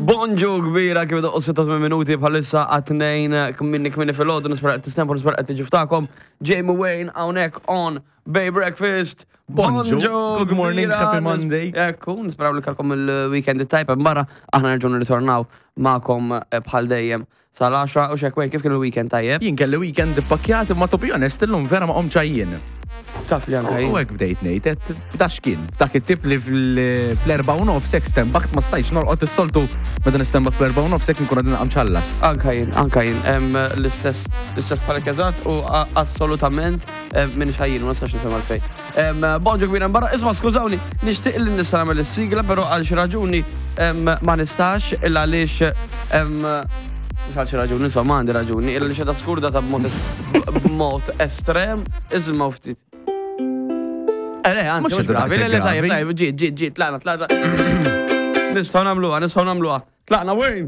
Bonġu kbira kif doqqu 86 minuti bħalissa għat-tnejn kminni kminni fil-ħodu nispera qed tistempu nispera qed tiġu ftakom. Jamie Wayne hawnhekk on Bay Breakfast. Bonġu, good morning, kbira. happy Monday. Ekku, nisperaw li kalkom il-weekend it-tajb barra aħna nerġgħu nirritornaw magħkom eh, bħal dejjem sal-10 u xek Wayne kif kien il-weekend tajjeb? Jien kelli weekend ippakkjat imma to be honest illum vera ma qomtx għajjien. Taf li anka U jien. hekk bdejt ngħid, qed dax kien, dak it-tip li fl-erba' u nofs hekk stembaħt ma stajtx norqod is-soltu meta nistembaħ fl-erba' u nofs hekk nkun għadni nqamċallas. Anka jien, anka jien, em, l-istess, l-istess bħalek eżatt u a- assolutament em, minn xajjin, ma nistax nifhem għalfejn. Em, Bonġu kbira barra, isma skużawni, nixtieq li nista' nagħmel is-sigla, però għal xi raġuni em, ma nistax illa għaliex em, mhux għal xi raġuni, insomma għandi raġuni, illa għaliex qiegħda skurda ta' b'mod es- b'mod estrem, iżma ftit. Eh, le, anzi, Mhux mhux qiegħda gravi, le, le, daqshekk tajjeb, gravi. tajjeb, ġiet, ġiet, ġiet, tlaqna, tlaqna. Nistgħu nagħmluha, nistgħu nagħmluha. Tlaqna, Wayne!